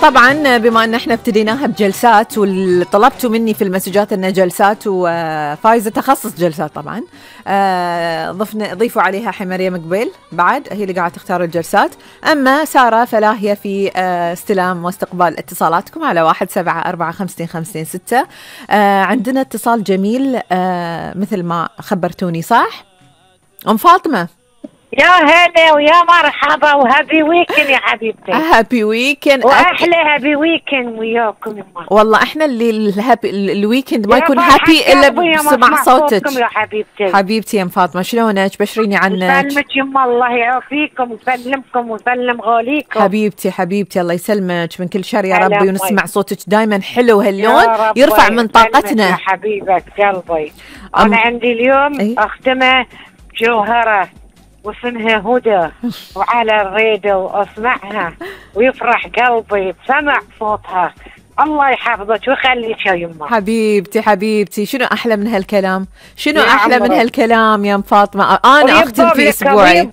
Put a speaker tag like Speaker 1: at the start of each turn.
Speaker 1: طبعا بما ان احنا ابتديناها بجلسات وطلبتوا مني في المسجات انها جلسات، وفايزة تخصص جلسات طبعا، ضيفوا عليها مريم قبيل بعد، هي اللي قاعدة تختار الجلسات. اما سارة فلا هي في استلام واستقبال اتصالاتكم على 17452556. عندنا اتصال جميل مثل ما خبرتوني، صح ام فاطمة؟
Speaker 2: يا هلا ويا مرحبا وهابي ويكند يا حبيبتي.
Speaker 1: هابي ويكند
Speaker 2: واحلى هابي ويكند وياكم.
Speaker 1: والله احنا اللي الويكند ما يكون هابي الا بسمع صوتك
Speaker 2: يا حبيبتي.
Speaker 1: حبيبتي يا ام فاطمه، شلونك؟ بشريني عنك.
Speaker 2: يسلمك يما، الله يعافيكم ويسلمكم ويسلم غاليكم.
Speaker 1: حبيبتي الله يسلمك من كل شر يا ربي، ونسمع صوتك دائما حلو هاللون يرفع من طاقتنا
Speaker 2: يا حبيبه قلبي. انا عندي اليوم اختمه جوهره واسمها هدى، وعلى الراديو اسمعها ويفرح قلبي بسمع صوتها. الله يحفظك ويخليك يا يمه.
Speaker 1: حبيبتي شنو احلى من هالكلام؟ شنو احلى من هالكلام يا ام فاطمه؟ انا اختم في اسبوعي.